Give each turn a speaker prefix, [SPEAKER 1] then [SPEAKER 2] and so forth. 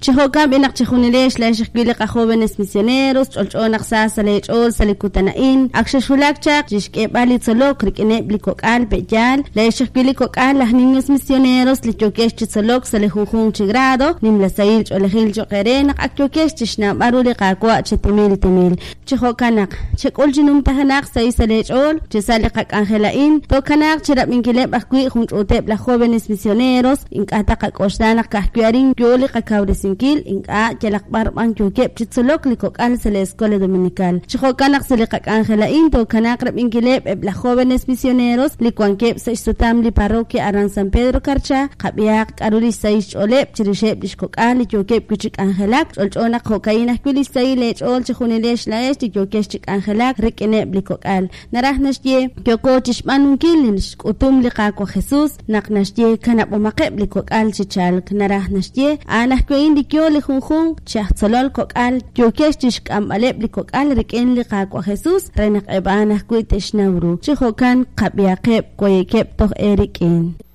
[SPEAKER 1] Chi jo'kan b'i' naq chejunilex laa'ex ajwi' li qajóvenes misioneros, ch'olch'o naq sa sa' leech'ool sa' li kutan a'in. Ak xexwulak chaq chi xk'eeb'al li tzolok rik'ineb' li kok'al pe'yaal, laa'ex ajwi' li kok'al laj niños misioneros li yookex chi tzolok sa' li junjunq chi grado, nimla sahil ch'oolejil cho'q eere naq ak yookex chi xnawb'al ru li Qaawa' chi timil timil. Chi jo'kan naq, chek'ul chi numtajenaq xsahil sa' leech'ool, chi sa' li qak'anjel a'in, tookanaaq chi rab'inkileb' ajwi' jun ch'uuteb' laj Jóvenes Misioneros, ink'a' taqak'oxla naq ka'ajwi' arin yoo li qakawresinkil, ink'a', yalaq b'ar b'an yookeb' chi tzolok li kok'al sa' li Escuela Dominical. Chi jo'kan naq sa' li qak'anjel a'in tookanaaq rab'inkileb' eb' laj Jóvenes Misioneros li wankeb' sa' xsutam li parroquia aran San Pedro Carchá, qab'ihaq k'a'ru lix sahil xch'ooleb' chirixeb' lix kok'al li yookeb' wi' chi k'anjelak. Ch'olch'o naq jo'ka'in ajwi' lix sahil eech'ool chejunilex laa'ex li yookex chi k'anjelak rik'ineb' li kok'al. Naraj naxye, yooko chixb'aanunkil li xk'utum li Qaawa' Jesus naq naxye kanab'omaqeb' li kok'al chi chalk. Naraj naxye, a'an ajwi' a'in li yoo li junjunq chi aj tzolol kok'al yookex chixk'amb'aleb' li kok'al rik'in li Qaawa' Jesus re naq eb' a'an ajwi' te'xnaw ru. Chi jo'kan qab'ihaqeb' waye'keb' toj eerik'in.